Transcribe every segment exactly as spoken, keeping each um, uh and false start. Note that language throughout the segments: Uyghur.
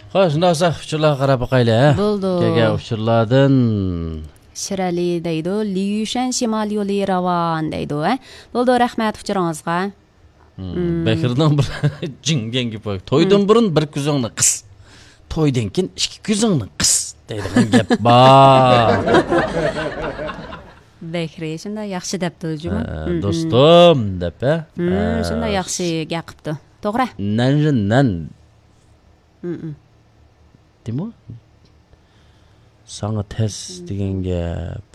خوش، شۇنداق بولسا ئۇچۇرلارغا قاراپ باقايلى، ھە؟ بولدى. كەلگەن ئۇچۇرلاردىن. شىرئەلى دەيدۇ، ليۇشەن شىمال يولى راۋان دەيدۇ، ھە؟ بولدى، رەھمەت ئۇچۇرىڭىزغا. مم. بەكرىنىڭ بىر جىڭ دېگەن گېپى بار. تويدىن بۇرۇن بىر كۆزۈڭنى قىس، تويدىن كېيىن ئىككى كۆزۈڭنى قىس دەيدىغان گەپ بار. بەكرى شۇنداق ياخشى دەپتۇ جۇمۇ. ھە، دوستۇم دەپ، ھە؟ ھە، شۇنداق ياخشى گەپ قىپتۇ. توغرا. نەنجى نەن. دېمۇ؟ ساڭا تەس دېگەن گەپ.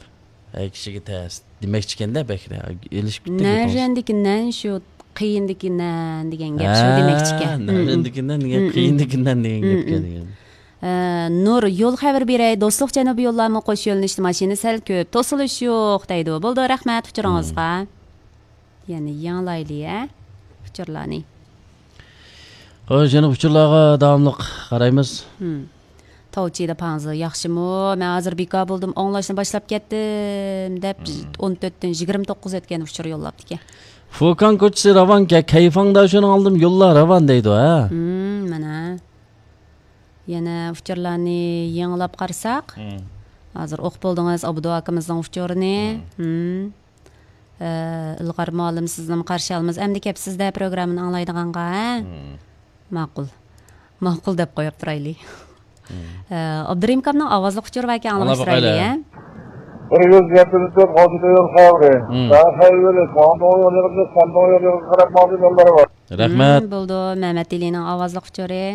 ھەي، كىشىگە تەس دېمەكچىكەن-دە بەكرى. ئېلىشىپ كېتىپ گېپىڭىز. نەنژەندىكى نەن شۇ قىيىندىكى نەن دېگەن گەپ شۇ دېمەكچىكەن. ھە، نەنژەندىكى نەن دېگەن قىيىندىكى نەن دېگەن گەپكەن دېگەن. ئە، نۇر، يول خەۋىرى بېرەي، دوستلۇق جەنۇبىي يوللارمۇ قوش يۆنىلىشتە ماشىنا سەل كۆپ، توسۇلۇش يوق دەيدۇ. بولدى، رەھمەت ئۇچۇرىڭىزغا. يەنە يېڭىلايلى، ھە؟ ئۇچۇرلارنى. خوش، يەنە ئۇچۇرلارغا داۋاملىق قارايمىز. ھىم. تاۋچى دەپ ھاڭزى ياخشىمۇ؟ مەن ھازىر بىكار بولدۇم، ئاڭلاشنى باشلاپ كەتتىم، دەپ ئون تۆتتىن يىگىرمە توققۇز ئۆتكەن ئۇچۇر يوللاپتىكەن. فۇكاڭ كوچىسى راۋانكەن، كەيفاڭدا شۇنىڭ ئالدىم يوللار راۋان دەيدۇ، ھە؟ ھىم، مانا. يەنە ئۇچۇرلارنى يېڭىلاپ قارىساق، ھازىر ئوقۇپ بولدىڭىز، ئابدۇ ئاكىمىزنىڭ ئۇچۇرىنى. ھىم. ئە، ئىلغار مۇئەللىم، سىزنىمۇ قارشى ئالىمىز. ئەمدى كەپ سىز-دە پروگراممىنى ئاڭلايدىغانغا، ھە؟ ماقۇل. ماقۇل دەپ قويۇپ تۇرايلى. ئە، ئابدۇرېھىم ئاكامنىڭ ئاۋازلىق ئۇچۇرى باركەن، ئاڭلاپ تۇرايلى، ھە؟ بىر يۈز يەتتە تۆت، ئوتتۇز يول خەۋىرى. ساڭا خەۋەر بېرىش، خەندۇڭ يول يېغىزى، خەندۇڭ يول يېغىزى قاراپ ماڭدىم، يوللار بار. رەھمەت. بولدى، مەمەت ئېلىنىڭ ئاۋازلىق ئۇچۇرى.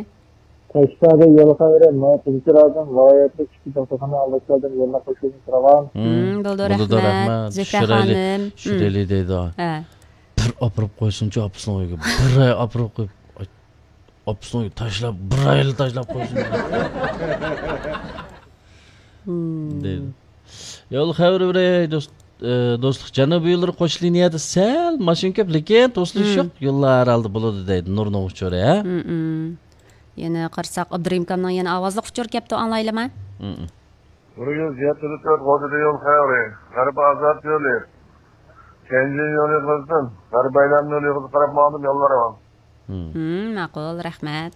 تاشلاردىن يول خەۋىرى، مانا تۇنجى رايون ۋىلايەتلىك ئىچكى دوختۇرخانا ئالدىشلاردىن يوللار قوشۇلۇش راۋان. بولدى، رەھمەت. زۆھرە خانىم. چۈشۈرەيلى دەيدۇ. ھە. بىر ئاپىرىپ قويسۇنچۇ ئاپىسىنىڭ ئۆيىگە. بىر ئاي ئاپىرىپ قويۇپ، ئاپىسىنىڭ ئۆيىگە تاشلاپ، بىر ئايلا تاشلاپ قويسۇن. دەيدۇ. يول خەۋىرى بېرەي، دوست، ئە، دوستلۇق جەنۇبىي يوللىرى قوش لىنىيەدە سەل ماشىنا كۆپ، لېكىن توسۇلۇش يوق. يوللار ھەر ھالدا بولىدۇ دەيدۇ نۇرنىڭ ئۇچۇرى، ھە؟ يەنە قارىساق، ئابدۇرېھىم ئاكامنىڭ يەنە ئاۋازلىق ئۇچۇرى كەپتۇ، ئاڭلايلىما؟ بىر يۈز يەتتە تۆت، غوجىدە يول خەۋىرى. غەربىي ئازاد يولى. كەنجى يولى قىزدىن غەربىي ئايلانما يولى قىزىپ قاراپ ماڭدىم، يوللار راۋان. ماقۇل، رەھمەت.